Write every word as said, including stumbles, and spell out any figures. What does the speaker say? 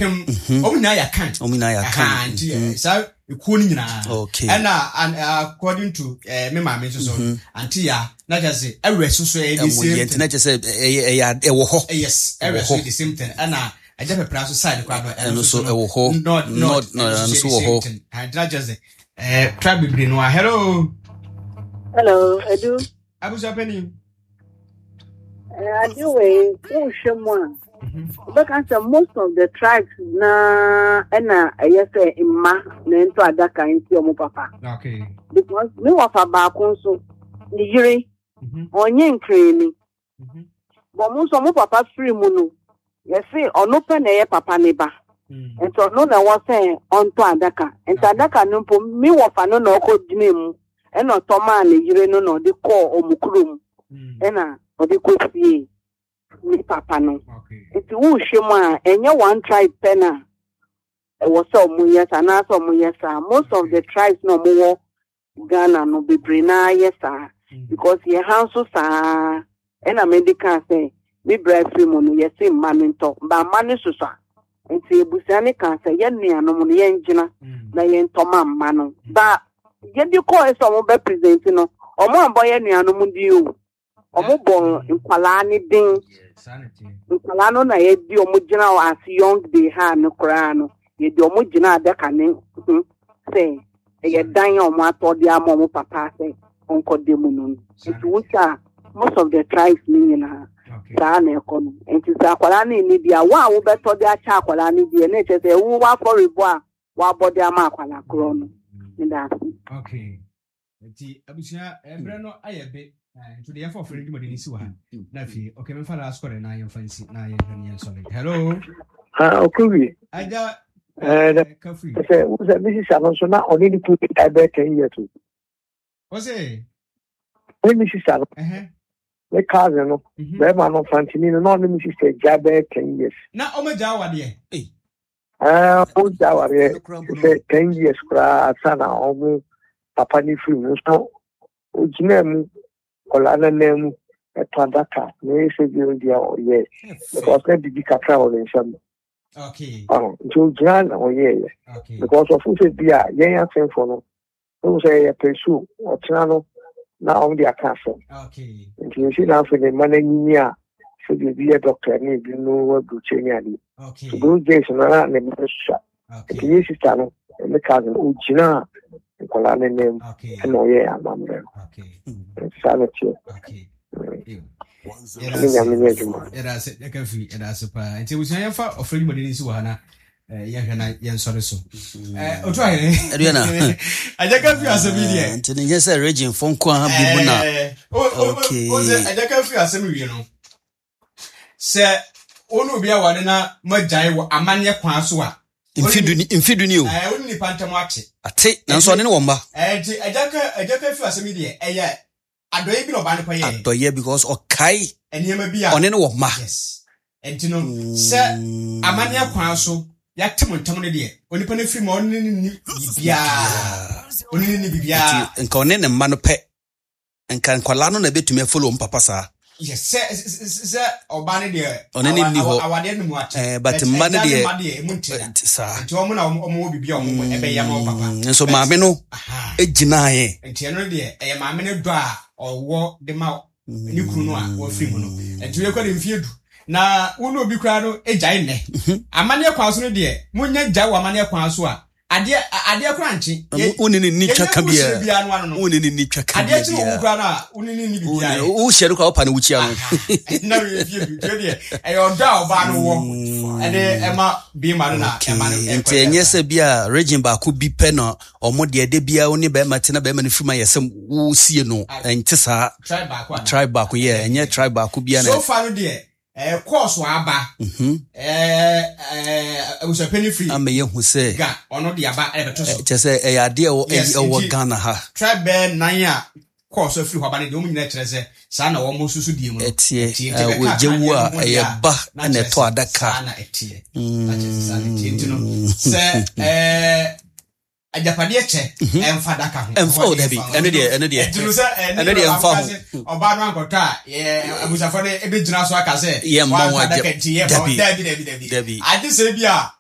Apem, ɔmo nyinaa yɛ Akan. Ɔmo nyinaa yɛ Akan. Aha, nti eh, saa ekuo no nyinaa. Okay. Ɛna an- according to eh, me maame nso so, Auntie Ya na kyerɛ sɛ ɛwɛ so so ɛyɛ the Ɛmo same deɛ nti thing. na kyerɛ sɛ ɛyɛ ɛyɛ ad- ɛwɔ hɔ. Eh, yes, ɛwɛ Ɛwɔ so hɔ. yɛ the same thing. Ɛna Agya Pɛpra so side koraa no, Ɛno nso ɛwɔ hɔ. North, North, North, ɛno ɛno nso nso wɔ yɛ the hɔ. same thing. Ah, nti na kyerɛ sɛ eh, tribe bebree no a. Hello. Hello, Edu. Abusua panyin. Eh, ade wei, wohwɛ mu a, wobɛka sɛ most of the tribes na ɛna ɛyɛ sɛ mma na ɛntɔ adaka nti ɔmo papa. Okay. Because me wɔfa baako nso, ne yere, Mhm, ɔnyɛ nkrani. mhm, Bɔn mo nso ɔmo papa firi mu no, yɛse ɔno pɛ na ɛyɛ papa ne ba. mm. Nti ɔno na ɛwɔ sɛ ɔntɔ adaka. Nti adaka no mpo, me wɔfa no na ɔkɔ gyina mu. Ɛna ɔtɔ maa ne yere no na ɔde kɔɔ ɔmo kurom. Mm. Ɛna ɔde kɔ sie ne papa no. Okay. Nti wohwɛ mu a, ɛnyɛ one tribe pɛ na ɛwɔ sɛ ɔmo yɛ saa anaasɛ ɔmo yɛ saa. Most of the tribes na ɔmo wɔ Ghana no, bebree naa yɛ saa, Mm. because yɛ ha nso saa. Ɛna mede kaa sɛ me bra firi mu no, yɛse mma no ntɔ ba, mma no soso a, nti ebusua ne kaa sɛ yɛn nuanom no yɛngyina Mm. na yɛntɔ ma mma no ba. Yɛde kɔɔ sɛ ɔmo bɛ present no, ɔmo ambɔ yɛn nuanom din o, ɔmo bɔ nkwalaa ne din. Saa na ɛteɛ. Nkwalaa no na yɛdi ɔmo gyina hɔ as young they ha no koraa no, yɛde ɔmo gyina adaka ne ho sɛ ɛyɛ dan a ɔmo atɔ de ama ɔmo papa sɛ ɔnkɔda mu no. Nti wohwɛ a, most of the tribes ne nyinaa Okay. saa na ɛkɔ no. Nti sɛ akwadaa no nni bi a, wo a wobɛtɔ de akyɛ akwadaa no deɛ, na ɛkyerɛ sɛ ɛwo w'afɔrebɔ a wabɔ de ama akwadaa korɔ no. Meda ase. Okay. Nti abusua, ɛbrɛ no ayɛ be. Eh, nti deɛ yɛmfa ɔfrɛ no dwumadi no si wɔ ha na afei, okay, memfa last call na yɛmfa nsi na yɛhwɛ no yɛnsɔre. Hello. Ah, Okowie. Agya. Eh, eh, Kafri. Sɛ wo sɛ me sister no nso na ɔne ne kunu ɛbɛyɛ ten years o. Wo se? Ne me sister no, ɛhɛ me cousin no, mhm. bɛrima no Fantini no, na ɔne me sister gya bɛyɛ ten years. Na ɔmagya awadeɛ? Ah, ɔgya awareɛ Ɛno koraa mpo no. sɛ ten years koraa ansa na ɔmo papa ne firi mu nso, ogyina mu kɔlaa no nan mu ɛtɔ adaka na ɛyɛ sɛ bi deɛ ɔyɛ because na bibi kakra wɔ ne nsam. Okay ɔho nti ogyina na ɔyɛɛyɛ okay because ɔfo sɛ bi a yɛn asɛmfo no ɛhu sɛ yɛyɛ pɛsu ɔtena no na ɔmo de aka asɛm. Okay nti nsi na afei ne mma no anyini a, sɛdeɛ ebi yɛ doctor ne ebi no aburukyire ne adeɛ. Okay so those days no na ne mma no sua nti okay yɛ sister no, ne cousin, ogyina nkwadaa no nan mu okay ɛna ɔyɛ amammerɛ no. Okay nti saa na teɛ. Okay. Mm. Ew. Ne Nyame nyɛ adwuma. Yɛda ase, yɛka firi, yɛda ase paa. Nti abusua, yɛmfa ɔfrɛ dwumadi no nsi wɔ ha na eh, yɛhwɛ na yɛnsɔre so. Eh, otu ahene. Aduana. Agya ka firi asɛm yi deɛ. Nti ne nyɛ sɛ region fo nko ara bi mu na. Eh, o- o- o- Okay. o sɛ agya ka firi asɛm wie no, sɛ wo ne obi aware na moagyae wɔ amanneɛ kwan so a, Mfe du ni, mfe du ni o. eh, wo ne nipa ntam ate. Ate, nanso ɔne ne wɔn mma. Eh, nti agya ka agya ka firi asɛm yi deɛ, ɛyɛ adɔeɛ bi na ɔbaa no kɔyɛɛ. Adɔyɛ, because ɔkae nneɛma bi a ɔne ne wɔn mma. Yes, nti no sɛ amanneɛ kwan so yɛate mo ntam no deɛ, onipa no firi mu a, ɔne ne ni biribiaa, ɔne ne ni biribiaa. Nti nka ɔne ne mma no pɛ, nka nkwalaa no na ebetumi afollow wɔn papa saa. Yes, sɛ sɛ sɛ ɔbaa no deɛ Ɔne ne awa- nni hɔ. awa- awadeɛ no mu ate. Eh, but mma no agya ne deɛ- mma deɛ emu nte da. Nti saa. Nti wɔn na wɔn wɔ biribi a wɔn ɛbɛyɛ ama wɔn papa. Mm, nso maame no Aha. egyinaeɛ. Nti ɛno deɛ, ɛyɛ maame no dɔ a ɔwɔ de ma ne kunu no a wɔfiri mu no. Nti wɔkɔ de mfie du na wo ne obi koraa no agyae nnɛ amanneɛ kwan so no deɛ, monya gyae wɔ amanneɛ kwan so a, adeɛ adeɛ koraa nkye. Yɛ- Wo ne ne ni twa yɛnya ka kuruhyire biara. biara no ano no Wo ne ne ni twa ka adeɛ kye wɔ wo biara. koraa no a, wo ne ne ni biribiara yɛ. Wo hyɛ no koraa, wopa ne wokyia no. Na wei fie bi tuo deɛ, ɛyɛ ɔdɔ a ɔbaa no wɔ ɛde ɛma bɛrima no na ɛma no ɛkɔ. Nti ɛnyɛ sɛ bi a region baako bi pɛ na ɔmo deɛ, de bia wo ne bɛrima te na bɛrima no firi mu ayɛ sɛ wosie no, ɛnte saa. Tribe baako ana? Tribe baako yɛ, ɛnyɛ tribe baako bia na. So far no deɛ, ɛɛ kɔɔso aba, Mhm. ɛɛ ɛɛ abusuapɛni firi ama yɛhu sɛ ga ɔno de aba ɛbɛto so. Kyɛ sɛ ɛyɛ adeɛ a ɛwɔ Yes, ɛwɔ nti- Ghana ha. Tribe bɛɛ nan a kɔɔso afiri hɔ aba no deɛ, wɔn nyinaa kyerɛ sɛ saa na wɔn nso so die mu no. Ɛteɛ. Ɛteɛ. Nti Ɛ, bɛka wɔgye wu a, adeɛ no ho deɛ ɛyɛ a, ba na ɛna kyerɛ ɛtɔ sɛ adaka. Saa na ɛteɛ, na kyerɛ sɛ saa na ɛteɛ. Nti no sɛ ɛɛ agyapadeɛ kyɛ, ɛmfa adaka ho. Ɛmfa o, dabi. Ɛno deɛ- ɛno deɛ- ɛnti no sɛ ɛne ɛno deɛ ɛmfa ho. Ɔbaa no ankɔtɔ a, yɛ abusuafoɔ no ebɛgyina so aka sɛ Yɛmma wo wamfa agya- adaka nti yɛmma wo- Dabi. Dabi, dabi, dabi. Dabi. Agye sɛ bi a